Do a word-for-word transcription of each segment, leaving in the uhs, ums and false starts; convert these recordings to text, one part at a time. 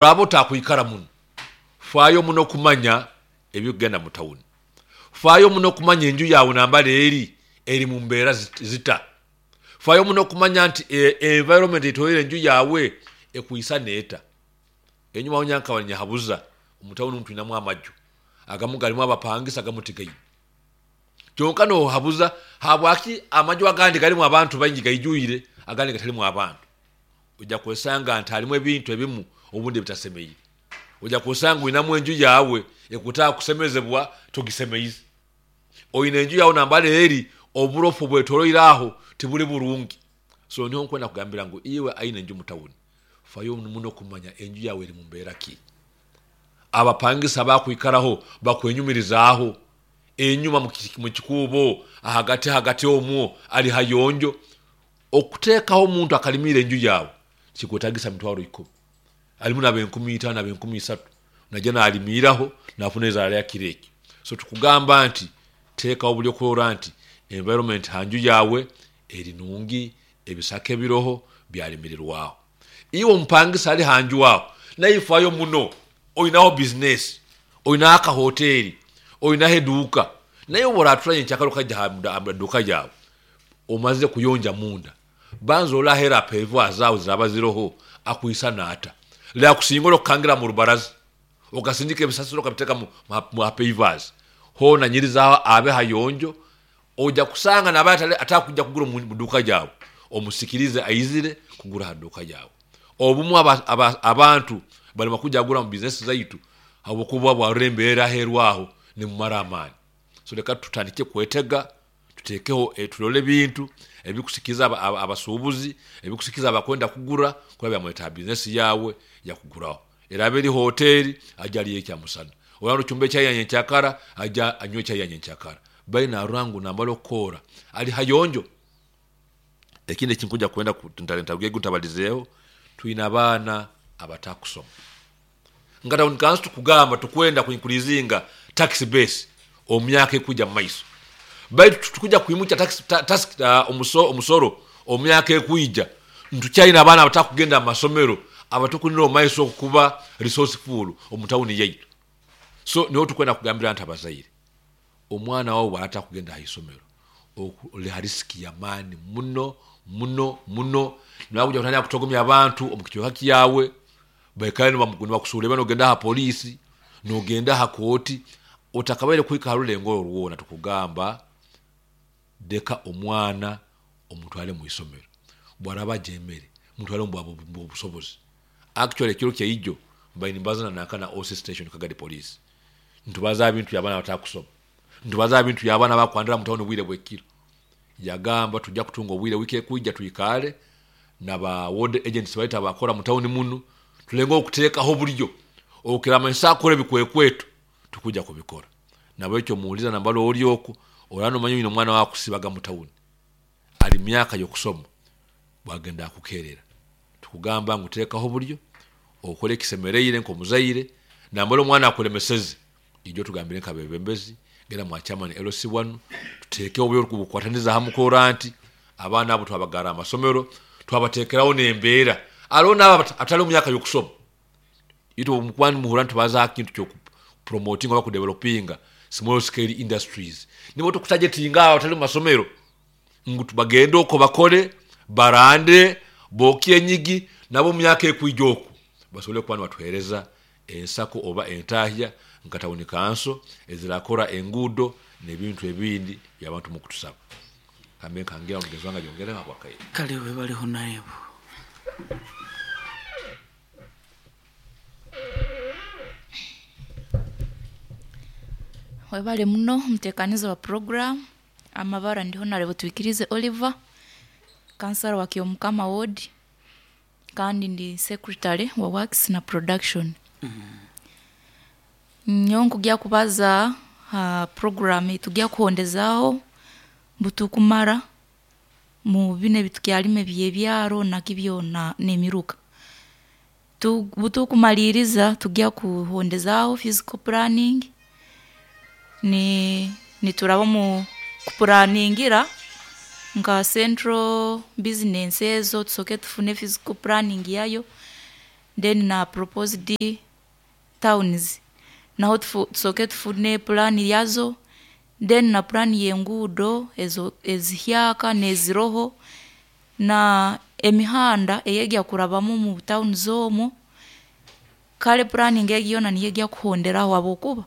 Abo takwikara muno, faayo muno kumanya ebikugenda mu tawuni, faayo muno kumanya enju yawe nambala eri eri mu mbeera zita, faayo muno kumanya nti e, environment etoire enju yawe ekwisa neeta. Enyuma aho nyankaba nyahabuza omu tawuni twinamu amaju agamu garimu abapangisa agamu tigaine. Kyonka nohabuza habwaki amaju agandi garimu abantu baingi gaijwire, agandi gatarimu abantu. Ojja kwesanga nti harimu ebintu ebimu obundi ebitasemeire. Ojja kwesanga oinamu enju yawe ekutaka kusemezebwa togisemeize. Oine enju yawe nambara eri oburofu bwetoroire aho tiburi burungi. So niho nkwenda kugambira ngu iwe aine enju mu tawuni, fayo muno kumanya enju yawe eri mu mbeera ki. Abapangisa bakwikaraho bakwenyumirizaaho, enyuma mu kikuubo ahagati hagati omwo ali hayonjo. Okuteekaho omuntu akalimira enju yawe kikwetagisa mitwaro ikumi, alimu nabenkumi itaano nabenkumi isatu, najya nalimiraho nafuna ezaara yakiro eki. So tukugamba nti teekaho buli okurora nti environment hanju yawe eri nungi, ebisaka ebiroho byalimirirwaho. Iwe omupangisa ali hanju aho naifayo muno, oinaho bizinesi, oinaho akahoteri, oinaho eduuka, naye obu oratura nyenkyakara okaija ha duuka yawe omaze kuyonja munda, banza orole aheeru ha pavers zaawe ziraba ziroho akwisana ata, lyakusingora okukangira mu rubaraza okasindika ebisasiro okabiteeka mu pavers, hoona nyirizaho abe hayonjo. Ojja kusanga naba atakuija kugura omu duuka yawe omusikirize aizire kugura ha duuka yawe. Obumu aba, aba, abantu barema kujya kugura mu bizinesi zaitu habwokuba bwarora embeera aheeru aho nemumara amaani. So leka tutandike kwetega, tuteekeho turole ebintu ebikusikiriza abasuubuzi, ebikusikiriza abakwenda kugura kuba byamuleta ha bizinesi yawe yakuguraho. Eraba eri hoteri ajya alye ekyamusana, oraba nocumba echai ya nyenkyakara ajya anywe echai ya nyenkyakara, baitu narora ngu nambara okukora ali hayonjo. Ekindi ekinkuja kwenda ntabalizeeho, twine abaana abatakusoma. Nka tawuni kanso tukugamba tukwenda ku increasinga tax base omu myaka ekuija mumaiso, baitu tukuja kwimukya tax, tax, uh, omusoro omu myaka ekuija, ntukyaine abaana abatakugenda mu masomero abatukunira omu maiso okuba resourceful omu tawuni yaitu. So niho tukwenda kugambira nti abazaire, omwana wawe bwata kugenda ha isomero oli ha risk ya maani muno muno muno, nakuja kutandika kutogomya abantu omu kicweka kyawe, baikale nibakusuura, nogenda ha poliisi, nogenda ha kooti, otakabaire kuhika ha rulengo orwo rwona. Tukugamba deka omwana omutware mu isomero, bwaraba ajeemere mutware omu busobozi. Actually ekiro kyaijo mbaire nimbaza nanka na O C station Kagadi police, nitubaza bintu by'abaana batakusoma, nitubaza bintu by'abaana bakwandira mu tawuni obwire bw'ekiro. Yagamba tujja kutunga obwire wiiki ekuija twikale naba ward agents baitu abakora mu tawuni munu, tulenge okuteekaho oburyo okiramanyisa akora ebikwekweto tukuja kubikora. Nabwekyo muwuliza nambala ori oku oraba nomanya oyine omwana wawe akusibaga mu tawuni ali myaka y'okusoma bwagenda akukerera, tukugamba ngu teekaho oburyo okole ekisemereire nk'omuzaire. Nambala omwana akulemeseze ijo tugambire nk'abebembezi, genda mwa chairman L C one, tuteekeho oburyo obukwataniza hamu kurora nti abaana abo twabagara amasomero, twabateekeraho n'embeera. Hariho n'abo atari omu myaka y'okusoma, itwe omukuba nimuhurra nitubaza aha kintu ky'okupromotinga oba kudevelopinga small scale industries, nibo tukutagetinga abo abatari mu masomero ngu bagende okwo bakore, barande, bookye enyigi, nabo omu myaka ekwija oku basobole kuba nibatuheereza ensako oba entahya nka tawuni kanso ezirakora enguudo n'ebintu ebindi by'abantu mukutusaba. Kambe nkangira mugenzi wange ayongereho habwakaire. Kale webaleho naebo. Webale muno omutekaniza wa program. Amabara ndi Honorable Twikirize Oliver, kansara wa Kyomukama ward, kandi ndi secretary wa works na production. Nyowe nkugya kubaza ha program eitugya kuhondezaaho butukumara mu binu ebitukyarima eby'ebyaro naki byona n'emiruka. Tu butukumaliiriza tugya kuhondezaaho physical planning, ni nituraba omu kupuraningira nka central business ezo tusooke tufune physical planning yayo, Then na proposed towns naho tufu- tusooke tufune pulaani yazo. Then na pulaani y'enguudo ezo ezihyaka n'eziroho na emihanda eyegya kurabamu mu towns omwo. Kare pulaani egi yoona niyo egya kuhonderaho habwokuba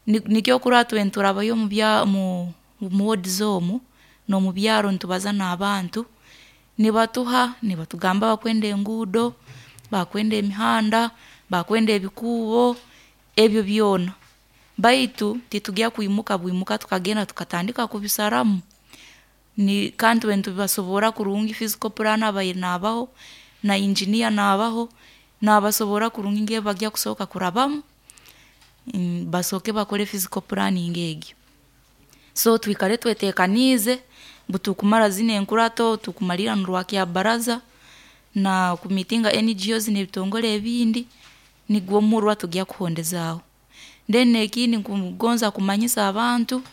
ni- nikyo okurora itwe niturabayo omu bya mu mu wards omu n'omu byaro nitubaza n'abantu nibatuha nibatugamba bakwenda enguudo, bakwenda emihanda, bakwenda ebikuubo, ebyo byona. Baitu titugya kwimuka bwimuka tukagenda tukatandika kubisaramu. Ni kandi itwe nitubasoborra kurungi physical plan abaire naabaho na engineer naabaho naabasoborra kurungi ngu ebi bagya kusooka kurabamu, basooke bakore physical planning egyo. So twikare tweteekaniize obu tukumara zinu enkurato tukumalirra n'orwa Kyabaraza na kumiitinga N G Os n'ebitongore ebindi, nigwo murwa tugya kuhondezaaho. Then ekindi nkugonza kumanyisa abantu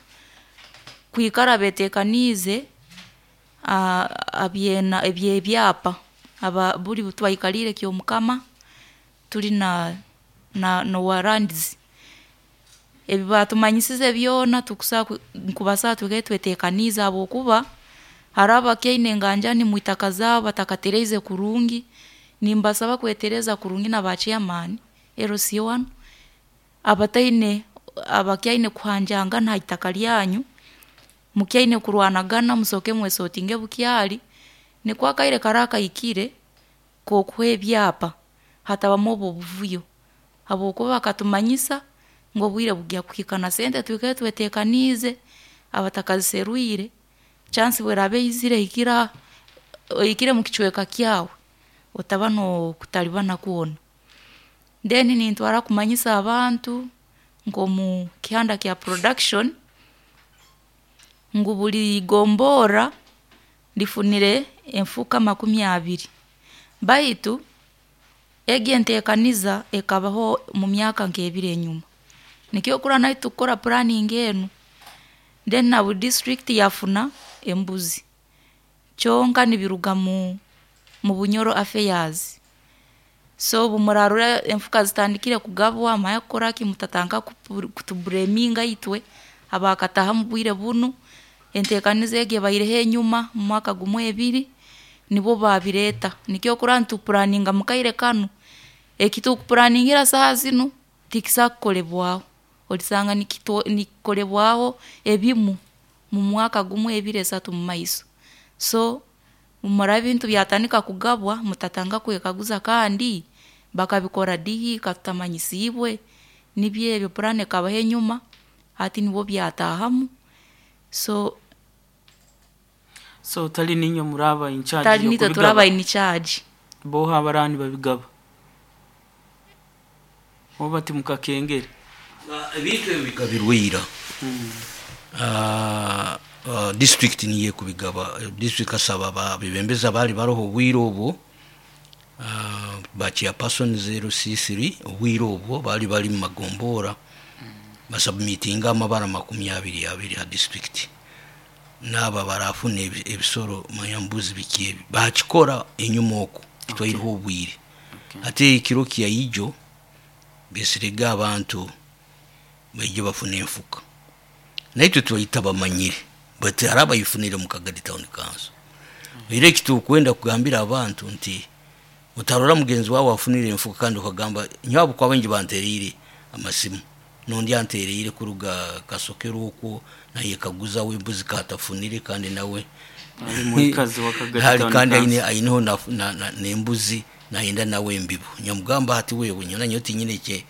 kwikara beeteekaniize habyena eby'ebyapa aba buli obu twaikaliire Kyomukama turi na na n'owa lands, ebi baatumanyisize byona tukusa nkubasaba twikale tweteekaniize habwokuba haroho abakyaine enganjani mwitaka zaabo batakatereize kurungi, nimbasaba kwetereeza kurungi na ba chairman, L C one, abataine abakyaine kuhanjangana ha itaka lyanyu, mukyaine kurwanagana musooke mwesootinge bukyali, nukwo akaire karaaba kahikire k'okuha ebyapa hatabamu obu obuvuyo habwokuba bakatumanyisa ngu obwire bugya kuhika na sente twikale tweteekaniize abatakaziserwire, chance obu eraaba eizire ehikire ha ehikire mukicweka kyawe, otaba n'okutalibana kwona. Then nintwara kumanyisa abantu nk'omu kihanda kya production ngu buri gomborra rifunire enfuka makumi abiri, baitu egi enteekaniza ekabaho mu myaka nk'ebiri enyuma, nikyo okurora naitwe tukukora planning enu. Then na buri district yafuna embuzi, kyonka nibiruga mu mu Bunyoro affairs. So obu muraarora enfuka zitandikire kugabwa manya kukoraki mutatandika kutubureeminga itwe abaakataahamu obwire bunu, enteekaniza egi ebaireho enyuma mu mwaka gumu ebiri, nibwo baabireeta nikyo okurora nituplanninga mukaire kanu, eki tukuplanningira saaha zinu tikisobola kukolebwaho, orisanga nikitu nikikolebwaho ebimu mu mwaka gumu, ebiri, esatu mumaiso. So obu murarora ebintu byatandika kugabwa mutatandika kwekaguza kandi bakabikora dihi katutamanyisiibwe, nibyo ebi plan ekabaho enyuma, hati nibwo byataahamu, so So tali niinywe muraaba in charge tali nitwe turaba y'okubigaba? in charge. Boha abaraaba nibabigaba? Oba timukakengere? Ebintu ebi bigabirwe ira. Ah, ah, district niyo ekubigaba. District kasaba babebembezi abaali baroho obwire obwo, ah, ba chairperson zero C three obwire obwo baali bali mu magombora, basubmitinga amabara makumi abiri abiri ha district, naaba barafuna ebi- ebisoro manya mbuzi biki ebi bakikora enyuma oku kitwaireho obwire. Ate ekiro kyaijo besirege abantu baije bafuna enfuka, naitwe twaita bamanyire, but hari abayifunire mu Kagadi Town Council. Era ekitukwenda kugambira abantu nti otarora mugenzi wawe afunire enfuka kandi okagamba nyowe kwaba nje bantereire amasimu, nondi antereire kuruga Kasokero okwo, naye kaguza wembuzi katafunire kandi nawe Ali mwikazi wa Kagadi hari Town kandi aine Council. aineho na, na, na, nembuzi nayenda nawe embibo, nyamugamba ati wewe nyona nyo tinyine ekye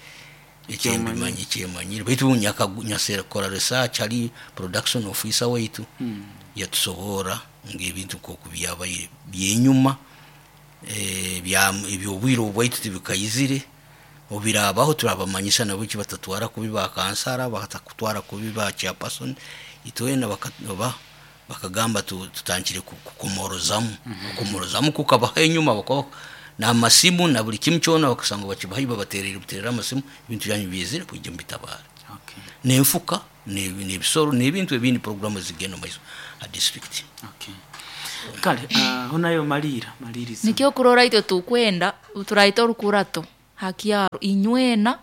ekyembimanye ekyemanyire, baitu nyaka- nyasekora research ali production officer waitu yatusoboora ngaebintu nkoku byabaire byenyuma, eh, bya ebyobwire obwaitu tibikaizire. Obirabaho turabamanyisa nabo ki batatwara kubi ba kansara, batakutwara kubi ba chairperson, itwena baka- ba bakagamba tu- tutandikire ku- kukomorozamu kukomorozamu kukabaho enyuma, bakaba n'amasimu na buli kimu kyona, bakasanga bakibahayo babaterere buterere amasimu, ebintu byanyu bizire kwija mubitabara. Okay. N'enfuka n'ebi- n'ebisoro n'ebintu ebindi, programu zigenda mumaiso ha district. Okay. Kale aho nayo malira maliriza. Nikyo kurora itwe tukwenda turaita orukurato hakyaro inywena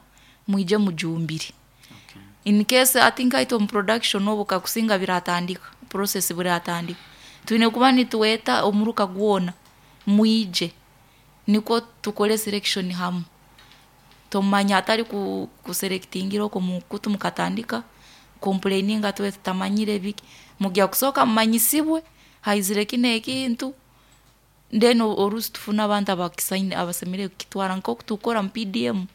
mwije mujumbire. Okay. In case ati nkaitwe mu production obu kakusinga biratandika process biratandika twine kuba nituweta omuruka gwona mwije niko tukole selection hamwe tomanya atari ku, kuselectingira oko mukutu mukatandika complaininga tuwe tutamanyire biki mugya kusoka mumanyisibwe haizire kino ekintu then o- orusi tufuna abantu abakisaine abasemere kukitwara nkoku tukora mu P D M.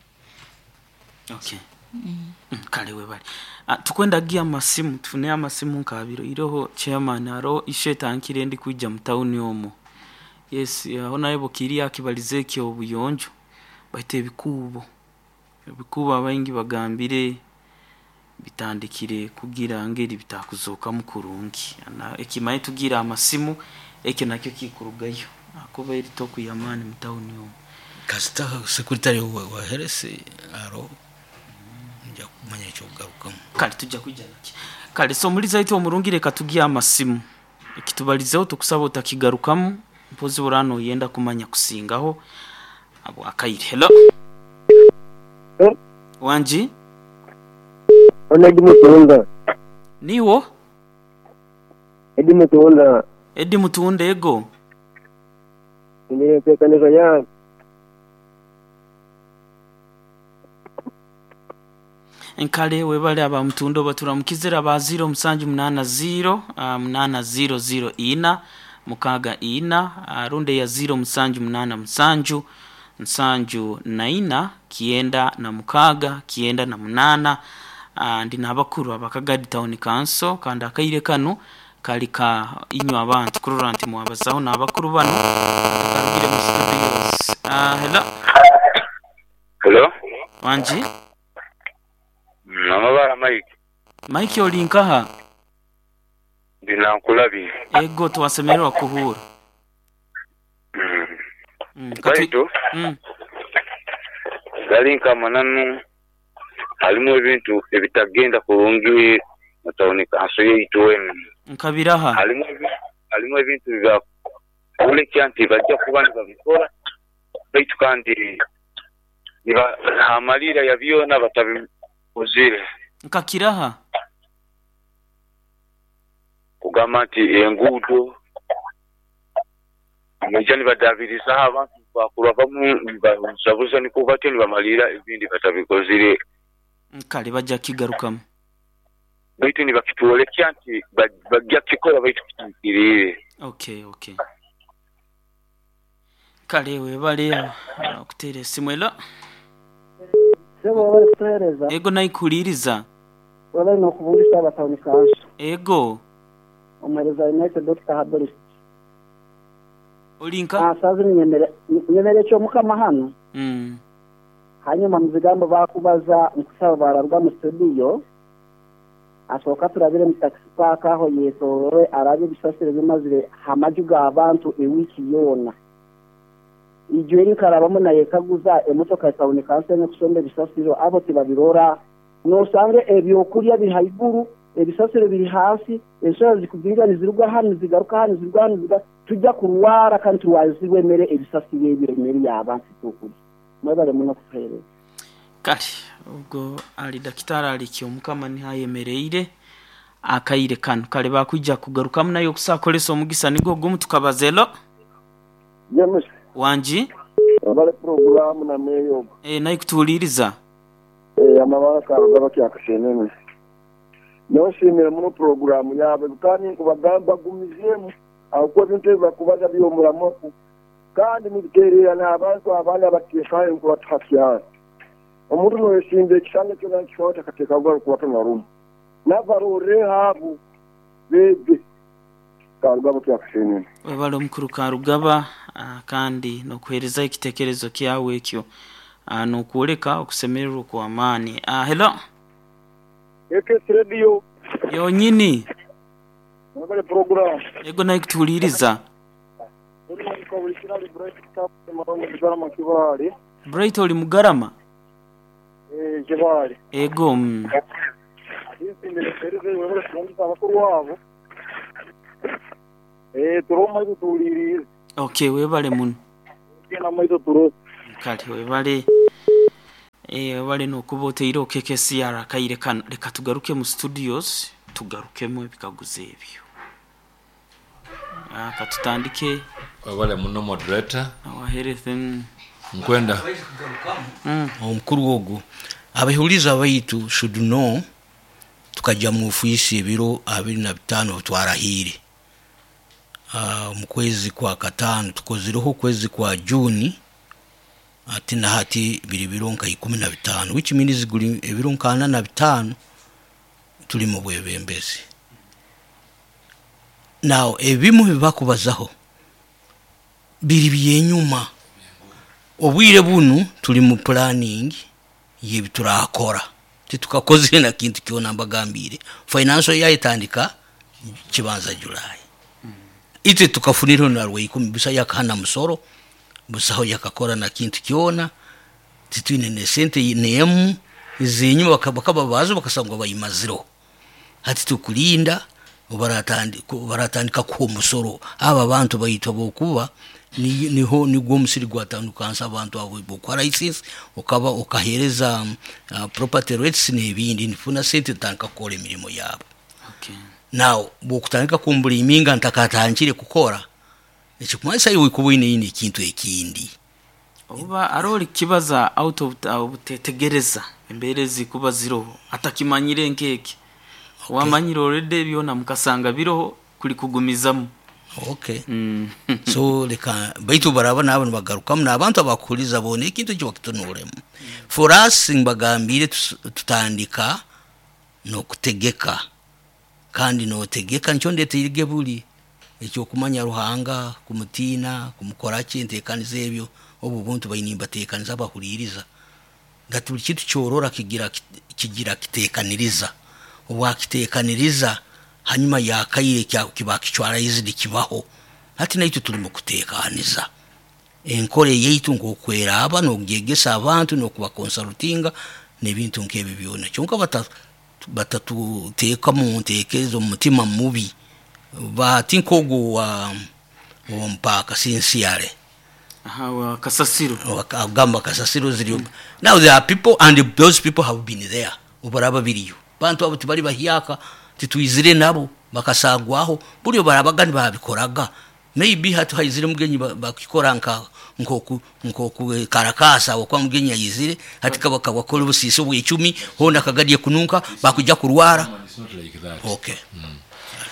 Okay. Mm, kale webali. Ah, tukwenda gia amasimu tufune amasimu nkabiro iroho chairman aro ishetankire ndi kwijja mu town omo. Yes, aho naye bukiri akibalize ekyo obuyonjo baite ebikubo ebikubo abaingi bagambire bitandikire kugira ngeri bitakuzoka mukurungi na ekimaye tugira amasimu ekyo nakyo kikurugayo akoba eri toku yamani mu town omo. Kasita secretary wa, wa heresi aro nja kumanya ekyokugarukamu. Kale tujja kwijja naki. Kale so muliza itu omurungi reka tugiye amasimu ekitubalizeho tukusaba utakigarukamu mpozi burano yenda kumanya kusingaho abo akaire. Hello. Eh? Wanji Ona Edi Mutunda. Niwo Edi Mutunda. Edi Mutunda ego. Nimetekaniza ya Nkale webale aba Mtundo baturamukizira ba zero musanju munana zero uh, munana zero zero ina mukaga ina uh, runde ya zero musanju munana musanju nsanju naina kienda na mukaga kienda na munana. Uh, ndi nabakuru abakagadi town council kandi akaire kano kali ka inywa abantu kurora nti mwabazaho nabakuru bano tukarugire mu studios. Uh, hello. Hello. Wanji Namabara Mike. Mike olinkaha? Ndinankulabi. Ego tuwasemererwa kuhura. Mm. Mm, Baitu mm. galinka mananu halimu ebintu ebitagenda kurungi mu tawuni kanso yaitu enu. Nkabiraha. Halimu halimu ebintu bya kulekya nti bajja kuba nibabikora baitu kandi niba amalira ya byona batabikozire. Nkakiraha. Kugamba nti enguudo amajja nibadabiriza abantu bakurwa bamu nibabuzabuza niko batyo nibamalira ebindi batabikozire. Kale bajja kigarukamu. Baitu nibakitwolekya nti bajja kukikora baitu kitukirire. Okay, okay. Kale webale okuteera esimu elo. Sebo wabale kutuhereza. Ego naikuliriza. Wabale nokubungisa abatawuni kanso. Ego. Omuhereza United Doctor Haboris. Olinka? Ah, sazi nyemere nyemere ekyo mukama hano. Mm. Hanyuma muzigambo bakubaza nkusaba bararwa mu studio. Asoka turabire mu taxi park aho yetorowe arabe bisasire bimazire hamaju g'abantu ewiki yona. Ijwe rikarabamo naye kaguza emotoka ya tawuni kanso ne bisasiro abo tibabirora nosange ebyokulya biri haiguru ebisasiro biri hasi ensolo zikuzinga nizirugwa hano zigaruka hano zirugwa hano zigaruka tujja kurwara kandi turwazibwe emere ebisasiro ebyo emere y'abantu tukulya mwebale muno kutuhereza. Kale ubwo ali dakitari alikyo mukama nihayemereire akaire kano kale bakwijja kugarukamu nayo okusakolesa omugisa nigo gumu tukabazelo. James Wanji abale programu na meyo eh nayi kutuuliriza eh amabara karugaba kyakasenene noshimira muno programu yabe kandi nkubagamba gumizemu aho bintu bakubaza byomuramoku kandi nibiterera n'abantu abana abatekayo nkubatafya omuntu noyesimbe ekisanga kyona kishota kateka gwa kuwata na rumu navarore habu bebe karugaba kyakasenene. Webale omukuru Karugaba kandi nokuhereza ekitekerezo kyawe ekyo nokuoleka okusemererwa kwa amaani. Ah, hello. Ekes radio yonyini mwebale program. Ego nayi kutuuliriza. Bright oli Mugarama? Eh Kibali. Ego. Mm. Eh turo maiso tulirize. Okay, webale muno. Kena maiso turo. Kale webale eh webale nokuba oteire okekesi akaire kano. Leka tugaruke mu studios, tugarukemu ebikaguzo ebyo. Ah, katutandike webale muno moderator. Our health mm. Nkwenda Mm. Omukuru ogwo abahuliza baitu should know tukajja mu ofiisi ebiro abiri na bitaano twarahire. Uh, mu kwezi kwa kataano tukozireho okwezi kwa Juni ati na hati biri biro nka ikumi na bitaano, which means guli ebiro nka ana na bitaano tuli mu bwebembezi. Now ebimu bibakubazaho biri byenyuma. Obwire bunu tuli mu planning yebiturakora, titukakozire na kintu kyona mbagambire. Financial yayitandika kibanza July, itwe tukafunira na rwe ikumi busa yakahana musoro busaho yakakora na kintu kyona, titwine ne sente nemu izinyuma bakaba bazo bakasangwa bayimaziro. Hati tukulinda baratandika baratandika ku musoro aba bantu bayitwa bokuba ni niho nigwo omusiri gwatandukansa abantu abo bokora license okaba okahereza uh, property rates n'ebindi nifuna sente tandika kukora emirimo yabo. Okay. Now bwokutandika kumbuliminga ntakatangire kukora ekikumanyisa iwe kuba oine ine ekintu ekindi. Oba aroli kibaza out of obutetegereza embeera ezikuba ziroho atakimanyire nkeke. Okay. Wamanyire already byona mukasanga biroho kuli kugumizamu. Okay. Mm. So leka baitu baraba nabo nibagarukamu n'abantu abakuhuriza bona ekintu ekyo bakitunuremu. For us mbagambire tutandika n'okutegeka, kandi notegeka nikyo ndeteire buli ekyokumanya Ruhanga, kumutiina, kumukora ki enteekaniza ebyo obu buntu baine mbateekaniza abahuriiriza ngati buli kintu kyorora kigira kigira kiteekaniriza obwakiteekaniriza hanyuma yakaire kiba kicwaraizidi kibaho. Hati naitwe tuli mu kuteekaniza enkora yaitu nk'okweraba n'okugyegesa abantu n'okubakonsalutinga n'ebintu nk'ebyo byona. Kyonka batatuteeka mu nteekerezo mu mutima mubi bati nk'ogwo wa mpaka sincerely. Aha, wa kasasiro. Agamba kasasiro ziriyo. Mm. Now there are people and those people have been there obaraba biriyo bantu abo tibali bahyaka titwizire nabo bakasagwaho buli barabaga nibabikoraga. Maybe hatu haizire mugenyi bakikora nka nkoku nkoku karakasa okwa mugenyi ayizire hati kabaka bakora obusiisi obw'icumi honda kagadiye kununka bakujja kurwara. It's not like that. Okay. Mm.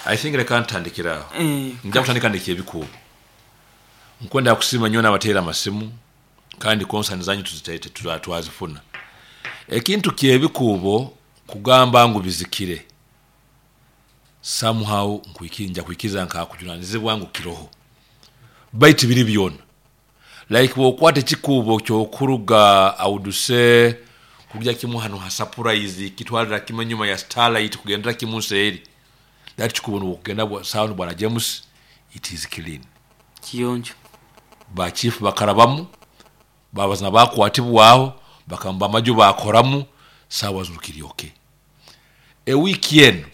I think leka ntandikira aho. Eh, nja kutandika ndekye ebikuubo. Nkwenda kusiima nnyo n'abateera amasimu kandi konsani zanyu tuziteete twazifuna. Ekintu ky'ebikuubo kugamba ngu bizikire somehow nkuikinja kuikiza nkakujunanizibwa ngu kiroho baitu biri byona. Like bwokwata ekikuubo kyokuruga awuduse kujja kimu hano ha surprise kitwalira kimu enyuma ya Starlight kugendera kimu nseeri that kikuubo nokugenda bwa sound bwana James it is clean kiyonjo ba chief bakarabamu babazina bakwatibwaho bakamba amaju bakoramu sawa zukiri okay. E weekend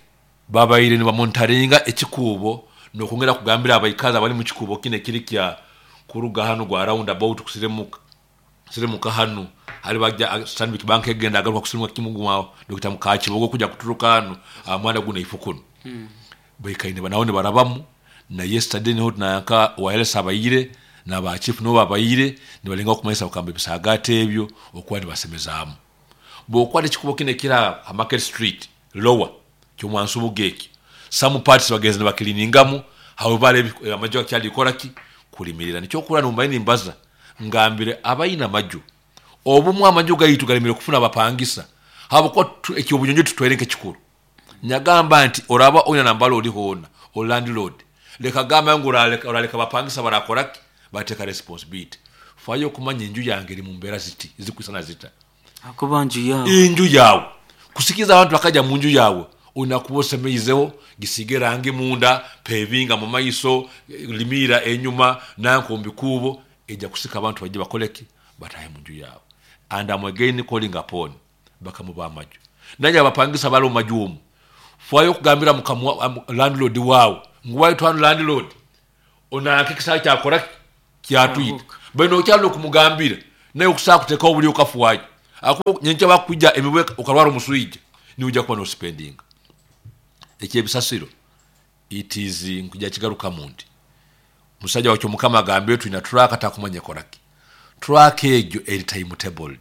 babaire ni bamontaringa ekikuubo nokongera kugambira abaikaza bali mu kikuubo kine kiri kya kuruga hano gwa round about kusiremuka siremuka hano hali bajja Stanbic Bank egenda agaruka kusiremuka kimugumao Doctor Mukakibogo kujja kuturuka hano amwana guna ifukuno mm. Baikaine banaone barabamu na yesterday niho tunanka wireless abayire na ba chief no babayire nibalenga okumanyisa okamba ebisagate ebyo okuba nibasemezaamu. Bw'okwata ekikubo kino ekira Market Street lower ky'omwansubuga ekyo some parts bagenze ne bakiliningamu however amaju akyali kolaki kulimirira. Nikyo nombaye nimbaza ngambire abayina amaju obumu amaju gayitu galimire kufuna abapangisa habwo ekyobunyonyo tutwere nk'ekikulu. Nyagamba nti oraba oyina nambalo oli hona o landlord leka gamba ngu oraleka oraleka bapangisa barakoraki bateka responsibility fayo kumanya enju yange eri mu mbeera ziti zikwisana zita akuba nju yawe enju yawe kusikiza abantu bakaja mu nju yawe unakuba osemeizeho gisige rangi munda pevinga mu maiso limira enyuma nankombi kubo ejja kusika abantu bajje bakoleki batahe mu nju yawe. And I'm again calling upon bakamuba amaju nanye abapangisa bali mu maju omu fayo kugambira mukamu landlord wawe nguwayo twanu landlord Onanka ekisaawe kyakora kyatwita. Kyahuka. Bano okyali okumugambira naye okusaa kuteekawo buli okafuwayo akuba nyenkya bakujja emibwe okalwala omuswija niujja kuba nosipendinga ekyebisasiro. It is nkujja kigarukamu nti musajja wakyo mukama agambire tulina truck, takumanya ekoraki. Truck egyo eri timetabled,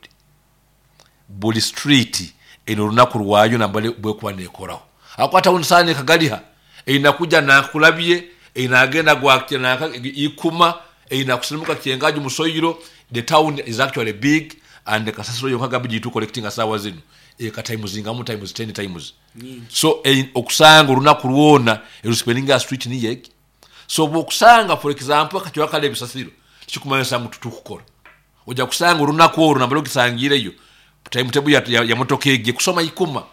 buli street eno olunaku lwayo nambale bwekuba nekoraho. Akwata unsane kagaliha eina kuja nakulabye, eina agenda gwakye naka ikuma, eina kusilimuka kyengaji musoyiro. The town is actually big and kasasiro yonka gabi tu collecting asawa zino eka times ngamu times ten times. So eh, okusanga olunaku lwona erusipendinga street ni yegi. So bwokusanga for example akachwa kale ebisasiro kikumanyisa ngu tutukukora, ojja kusanga olunaku olwo nambale ogisangireyo timetable ya, ya, ya motoka egi kusoma ikuma.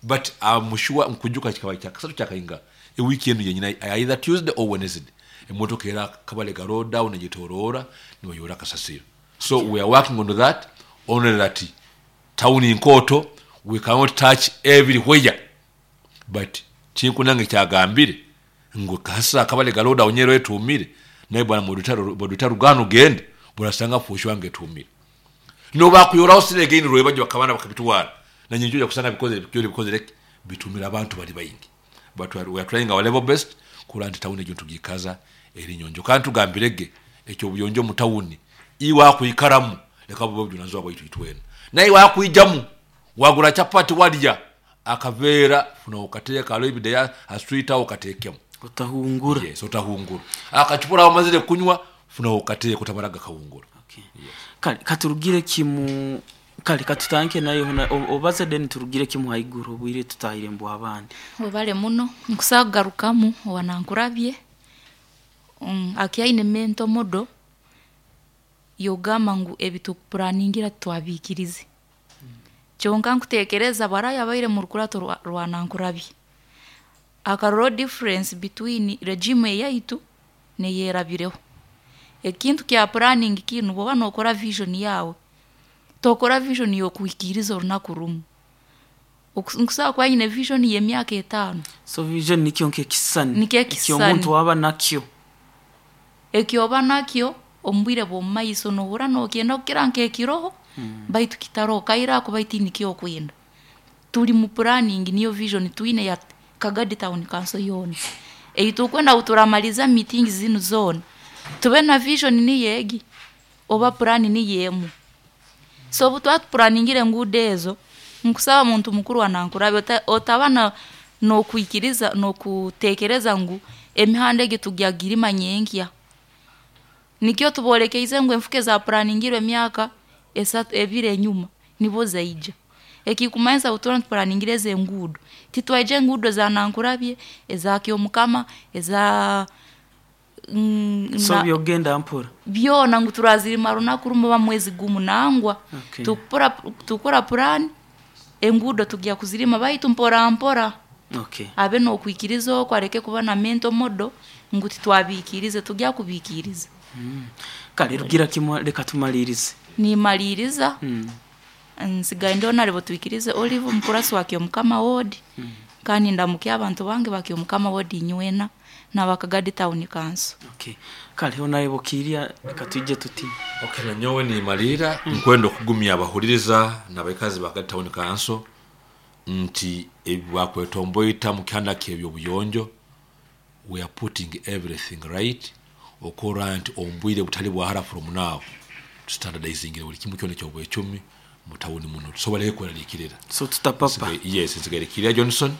But I'm sure nkujuka kikaba kya kasatu kyakainga ewiiki eno yenyina, either Tuesday or Wednesday, emotoka era kabale ga road down egitorora nibayora kasasiro. So we are working on that, only that town inkoto we cannot touch everywhere. But kinkunange kyagambire ngo kasasiro akabale ga road down nyero etumire naye bwana modutaro rugano gende burasanga fushwa ngetumire no bakuyoraho sire gini rwe bajya bakabana bakabitwara na nyinjo kusanga bikoze bikoze bikoze bitumira abantu bali bayingi. But we are, we are trying our level best kula nti tawuni egyo tugikaza eri nyonjo. Kandi tugambirege ekyo buyonjo mu tawuni iwa kuikaramu leka bube bujunanzwa bwaitu itwena naye wakwijamu wagura chapati walya akaveera funa okateeka alo ibideya aswita okateekemu. Otahungura. Yes, otahungura. Akachupura wamazire kunywa, funa okateeka utamaraga kawungura. Okay. Kale katurugire kimu, kale katutanke nayo hona o- obaze then turugire kimu haiguru obwire tutahire mbu abandi. Webale muno nkusagarukamu wanankurabye mm, akyaine mento modo yogamba ngu ebitukupuraningira twabikirize kyonka nkutekereza baraya baire mu rukurato rwa- rwanankurabye akarora difference between regime eyaitu neyerabireho. Ekintu kya planning kinu bwoba nokora vision yawe tokora vision yokuhikiriza orunaku rumu. Okus- nkusaba kuba nyine vision y'emyaka etaano. So vision nikyo nkekisani. Nikyo ekisani. Ekyo omuntu waba nakyo. Ekyoba nakyo omu bwire bw'omu maiso nohura nokyenda kukira nkekiroho mm. Baitu kitaroho kaira ako baitu nikyo okwenda tuli mu planning niyo vision twine ya Kagadi Town Council yoona eyi tukwenda kuturamaliza meeting zinu zoona tube na vision niyegi oba plan niyemu. So obu twatupuraningire enguudo ezo, nkusaba muntu mukuru wanankurabe ota- otaba na nokwikiriza nokutekereza ngu emihanda egi tugyagirima nyenkya. Nikyo tubolekeize ngu enfuka ezapuraningirwe emyaka esatu ebiri enyuma nibo zaija. Ekikumanyisa butura nitupuraningire ezi enguudo titwaija enguudo za Nankurabye eza Kyomukama eza mm, So na- byogenda mpora. byona ngu turazirima runaku rumu oba mwezi gumu nangwa. Okay. Tukura tukura purani enguudo tugya kuzirima baitu mpora mpora. Okay. Abe nokwikiriza okwo areke kuba na mento modo ngu titwabikirize, tugya kubikiriza. Kale rugira kimwe reka tumalirize. Nimaliriza. Mm. Nsigaye ndiho naribo twikirize Olive omukurasi wa Kyomukama ward kandi ndamukye abantu bange ba Kyomukama ward inywena n'abakagadi Town Council. Okay. Kale honaye bokiria reka tuje tuti. Okay, nanyowe nimalira nkwenda okugumya abahuliriza n'abaikazi ba Kagadi Town Council nti ebakwetomboita mu kihanda ky'ebyobuyonjo, we are putting everything right okora nti ombwire butali bwahara from now standardizingire buli kimu kyona ekyobwecumi mu tawuni muno tusobole kweraliikirira. So tutapapa. Nsigaye- yes, nsigaire Kiria Johnson,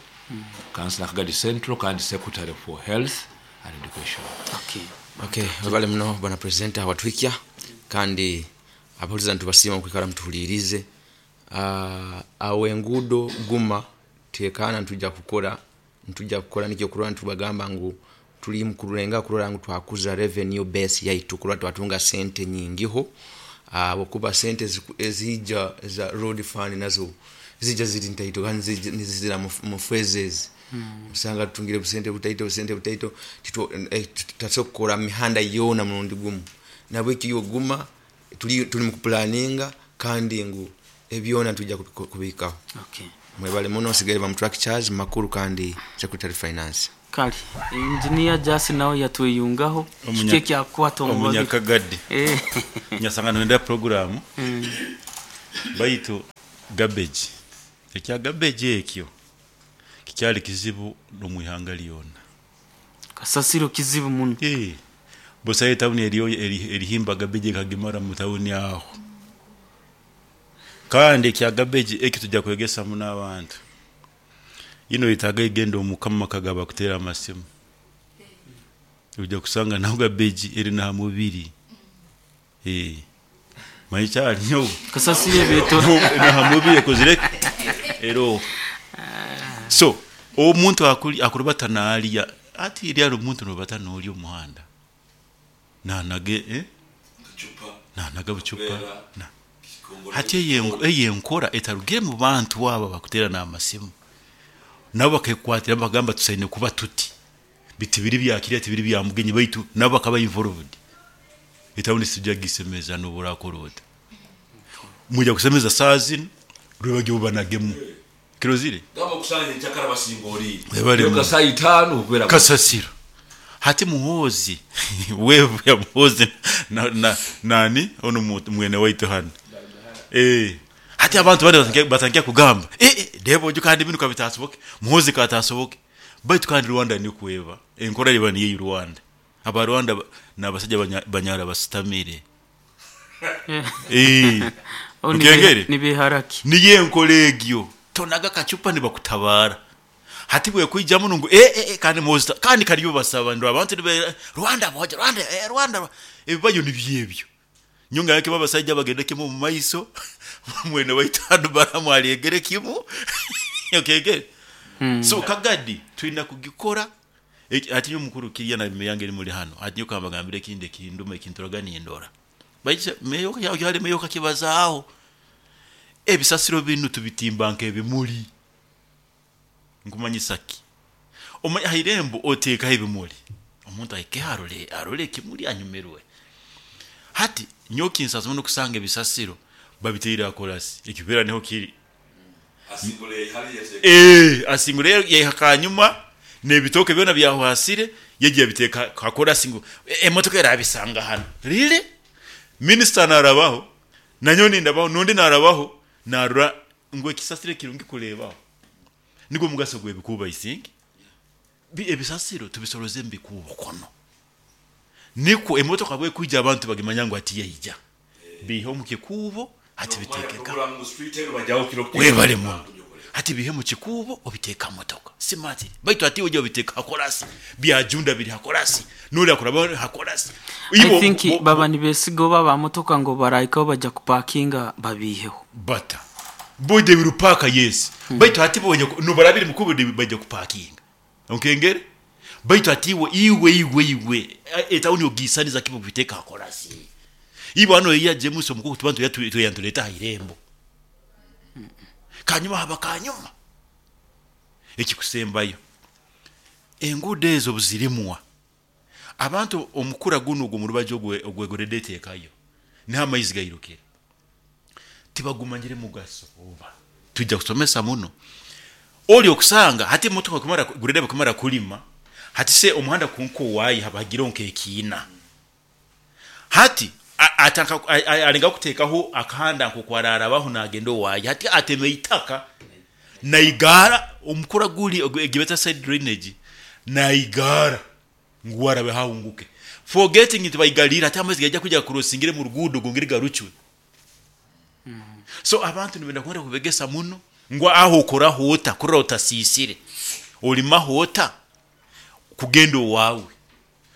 councillor Kagadi Central kandi secretary for health and education. Okay. Okay, webale muno bwana presenter watwikya kandi abahuliza ntubasiima mukwikara mutuhulirize. uh, awo enguudo guma tekana ntujja kukora ntujja kukora nikyo kurora ntubagamba ngu tuli mukurenga kurora ngu twakuza revenue base yaitu kurora twatunga sente nyingiho uh, okuba sente eziku- ezija za road fund nazo zijja ziri ntaito kandi zija- nizizira mu- mu phases mm. Usanga tutungire busente butaito busente butaito eh, tutasobola kukora mihanda yoona murundi gumu nabwekyo yoguma tuli, tuli mukupulaninga kandi ngu ebyona tujja kubikaho. Okay. Mwebale muno. Nsigaire bamu truck charge makuru kandi secretary finance. Kale engineer Jasi nawe yatweyungaho kiki ekyakukwata omu babiri? Omunyakagadi Eh. nyasanga nenda programu baitu garbage, ekya garbage ekyo kikyali kizibu n'omwihanga lyona. Kasasiro kizibu muno. Eh, busayo etawuni eriyo eri- erihimba garbage ekagimara mu tawuni aho. Kandi ekya garbage eki tujja kwegesamu n'abantu ino yetaaga egenda omukama kagaba kuteera amasimu, ojja kusanga naho garbage eri naha mubiri. Eh, manyi kyali nyo Kasasiro ebeeto naha mubiri ekozire ero. So omuntu akuli akurubata naalya ati eri ali omuntu nobata noolya omuhanda nanage, eh? Nanaga bucupa na. Hati eyo eyenkora etarugire mu bantu aba bakutera n'amasimu, nabo bakekwatira bagamba tusaine kuba tuti biti biri byakirya tibiri bya mugenyi, baitu nabo bakaba involved. Etawuni sijja gisemeza n'oburakora ota mujja kusemeza saa zino lwebagyo banagemu kirozire. Gamba okusanga enkyakala basinga oli Webale muno. saa itaano okubeera Kasasiro hati Muhoozi wevu ya Muhoozi na, na, nani ono mu- mwene waitu hano, eh hati abantu bandi batangiye- batangiye kugamba eh eh debo ojo kandi binu kabitasoboke Muhoozi katasoboke, baitu kandi Rwanda ni kweva enkora liba niye Rwanda. Aba Rwanda ba- n'abasajja banya- banyara basitamire, eh. Oh, Ukengere? nibeharaki. Niye enkola egyo tonaga kacupa nibakutabara hati bwekwijamu nungu eh, eh, eh, kandi musta kandi kaliyo basaba ndo abantu nibe Rwanda boja Rwanda, eh, Rwanda ebibayo nibyebyo nyonga yake babasajja bagende kimu mu maiso mwene waitano baramu aliegere kimu okegere. So kagadi tulina kugikora. Eki- ati nyo mukuru kirya na meyange eri muri hano ati nyo kambagambire ekindi ekinduma ekinturaga nindora baije meyo yali meyo kakibazaaho ebisasiro binu tubitimba nk'ebimuli. Nkumanyisa ki? Omanya hairembo oteekaho ebimuli, omuntu ahike arole arole ekimuli anyumirwe. Hati nyowe kinsaasa nokusanga ebisasiro babiteire akorasi ekibeera niho kiri. Eh, asingura yaiha kanyuma n'ebitooke byona byahwasire yagiye abiteeka hakorasi ngu "E- emotoka erabisanga hano rire minisita narabaho nanyo nindabaho nundi narabaho narura ngu ekisasiro kirungi kurebaho nigwo mugaso gwebikuuba isingi. Bi- ebisasiro tubisoroze mubikuubo kono nikwo emotoka bwekwija abantu bagimanya ngu ati yaija bihe omu kikuubo hati biteekeka webale muno hati bihe mu kikuubo obiteeka mu motoka simati baitu ati ojja obiteeka hakorasi byajunda biri hakorasi noli akuraba hakorasi. I think baba nibesiga oba bamotoka ngo barahikaho bajya kupakinga babiheho. Bata bode birupaka yes mm. Baitu hati bonye nubarabiri mukubo bajja kupakinga onkengere baitu ati iwe iwe iwe iwe etawuni ogisaniza kibo biteka hakorasi ibo hano iya James omukuru tubantu yatuyantuleta hairembo kanyuma haba kanyuma ekikusembayo enguudo ezo buzirimwa abantu omukura guno ogwo murubajo ogwegorede eteekayo niho amaizi gairukira tibagumanyire mugaso oba tujja kusomesa muno oli okusanga hati emotoka kumara gurede kumara kulima hati se omuhanda kunko wayi habagira nkekiina hati a- atanka a- a- alenga kuteekaho akahanda nkokwararabaho nagenda owayi hati ateme itaka naigara omukura guli egibeta side drainage naigara ngu warabe hahunguke forgetting nti baigalira ati amaizi gajja kujya kurosingire mu rugudo gongere garucwe. So abantu nibenda kwenda kubegesa muno ngo aho okora hota kurora otasisire olima hota kugenda owawe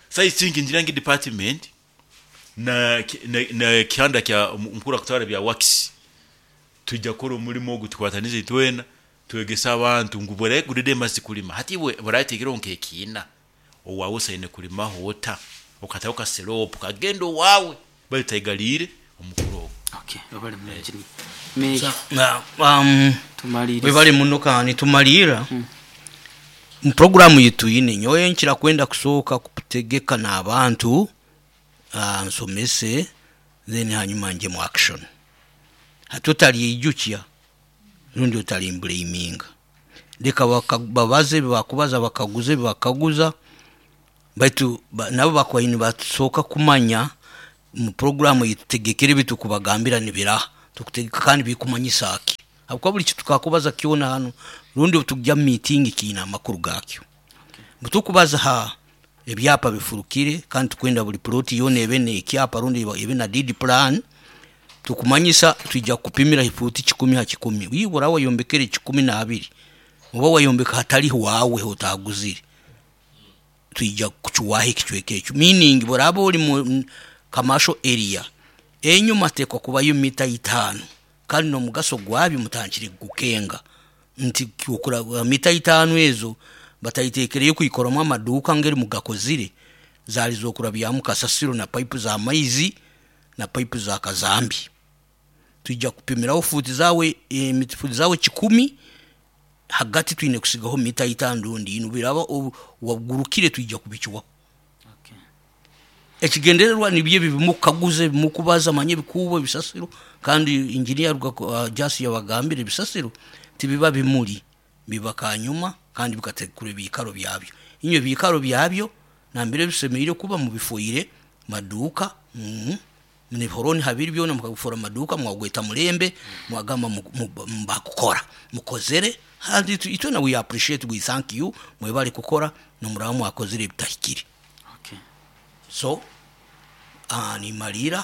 saisingi ngirangi department na, na, na kihanda kya mukuru akutwara bya wax tujja kukora omulimo ogu tukwatanize twena twegesa abantu ngu buregurire masi kulima hati iwe burategera nkekiina owawe osaine kulima hota okataho kasiropu kagenda owawe bali omukuru ogwo. Okay webale muno engineer Meya, Na, um, tumalirize. Webale muno kandi tumalira mu programu yitu yine nyowe nkira kwenda kusooka kutegeka n'abantu, ah, nsomese then hanyuma nje mu action hati otalyeijukya rundi otalimbulaminga. Leka baka- babaze bakubaza, bakaguze bakaguza, baitu ba, nabo bakwaine batusooka kumanya mu programu yitutegekere bitukubagambira nibiraha tukutegeka kandi bikumanyisa aki, habwokuba buli kitukakubaza kyona hano rundi tujja mu meeting kiina amakuru gakyo. Butukubaza ha ebyapa bifurukire, kandi tukwenda buli ploti yona ebe nekyapa rundi ebe na deed plan. Tukumanyisa twijja kupimira ifuti kikumi ha kikumi, wibura wayombekere kikumi na abiri oba wayombeka hatali wawe otaguzire, twija kucuwaho ekicweka ekyo. Meaning buraba ori mu commercial area, enyuma tekwa kubayo mita itaano, kandi n'omugaso gwabyo mutangire gukenga nti okura mita itaano ezo batayitekereyo kuyikoramu amaduuka ngeri mugakozire, zali zokurabyamu kasasiro na pipe za maizi na pipe za kazambi. Twijja kupimiraho futi zawe, eh, futi zawe kikumi, hagati twine kusigaho mita itaano rundi ino biraba wagurukire twija kubikiwaho. Okay. Ekigendererwa nibyo bimukaguze bimukubaza manye bikubo ebisasiro, kandi engineer uh, Jasi yabagambire ebisasiro tibiba bimuli, biba kanyuma kandi bikatekura ebikaro byabyo. Inyo ebikaro byabyo nambere bisemeire kuba mubifoire maduka, mm, nihoroni habiri byona mukabifora maduka, mwagweta mulembe mwagamba mbakukora mukozere handi itwe na we appreciate, we thank you, mwebale kukora nomuramu mwakozere ebitahikire. Okay. So uh, nimalira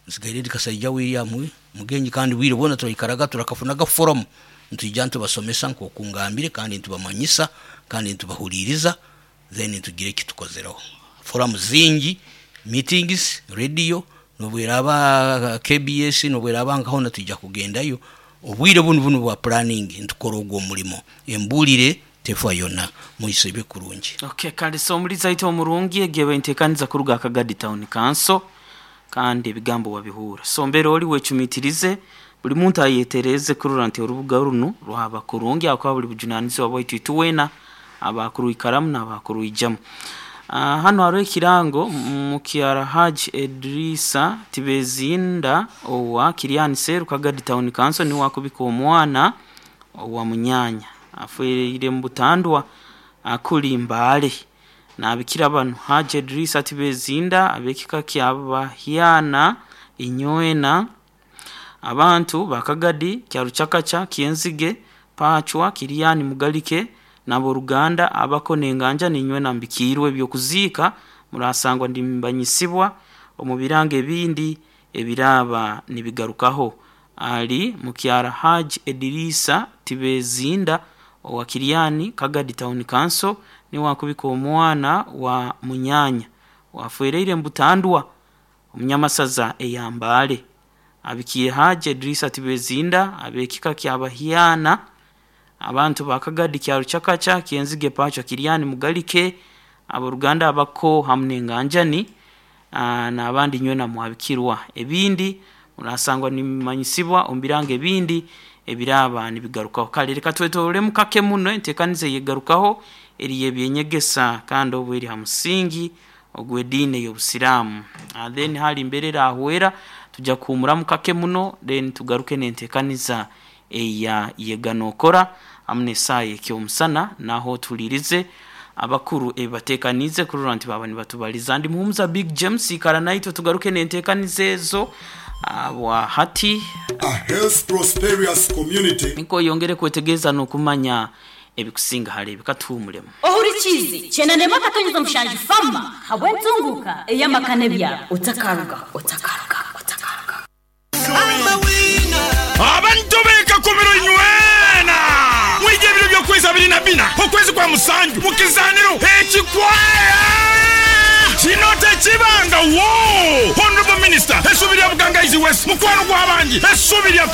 nsigaire ndi Kasaija William mugenyi, kandi bwire bwona turaikaraga turakafunaga forum ntwijja ntubasomesa nk'okungambire, kandi ntubamanyisa kandi ntubahuliriza, then tugire ekitukozereho. Forum zingi, meetings, radio nobweraba K B S nobweraba nkahona tujja kugendayo. Obwire bunu bunu bwa planning ntukora ogwo omulimo embulire tefa yonna muisebe kurungi. Okay, kandi so muliza ito omurungi egebe ntekaniza kuruga Kagadi Town Council, kandi ebigambo wabihura. So mbere oli wecumitirize buli muntu ayetereze kurura nti orubuga runo rwaba kurungi akwa buli bujunanizibwa bwaitu ituwena abakuru ikaramu n'abakuru ijamu. Uh, hano hariho ekirango mukyara Haji Edrisa Tibezinda owa Kiriani Seru Kagadi Town Council ni wakubika omwana owa munyanya afeire mu butandwa akuli mbale nabikira bano. Haji Edrisa Tibezinda abekika kyabahyana inyoena abantu bakagadi kyaruchakacha kienzige pachwa Kiriani Mugalike nabo Ruganda abako nenganja ninywe nambikirwe byokuziika murasangwa ndimbanyisibwa omubirange ebindi ebiraba nibigarukaho. Ali mukyara Haji Edirisa Tibezinda owa Kiriani Kagadi Town Council ni wakubika omwana wa munyanya wafereire mbutandwa omunyamasaza eyambale abikiye Haji Edirisa Tibezinda abekika kyabahyana abantu bakagadi kyaruchakacha kienzige pacho Kiriani Mugalike aboruganda abako hamne nganjani na abandi nywe na mwabikirwa ebindi murasangwa nimanyisibwa ombirange ebindi ebiraba nibigarukaho. Kale reka twetore mukake muno entekanize yegarukaho eriye byenyegesa kandi obweri ha musingi ogwedine y'obusiramu. And then hali mberera ahwera tujja kuhumura mukake muno then tugaruke nentekaniza eya yeganokora amne saye kyomusana naho tulirize abakuru ebatekanize kurura nti baba nibatubaliza. Ndi muhumuza Big James ikara naito tugaruke nentekanize ezo abwa hati a health prosperous community niko yongere kwetegeza nokumanya ebikusinga hale bikatuhumulemu ohurikizi chenanema katonyeza mushanji fama habwentunguka eyamakane bya otakaruga otakaruga otakaruga abantu beka kumiro nywena mwije biro byo kwezi abiri na bina okwezi kwa musanju mukizaniro ekikwaya kinote kibanga wo Honorable Minister esubirya Bugangaizi West mukwano gwa bangi esubirya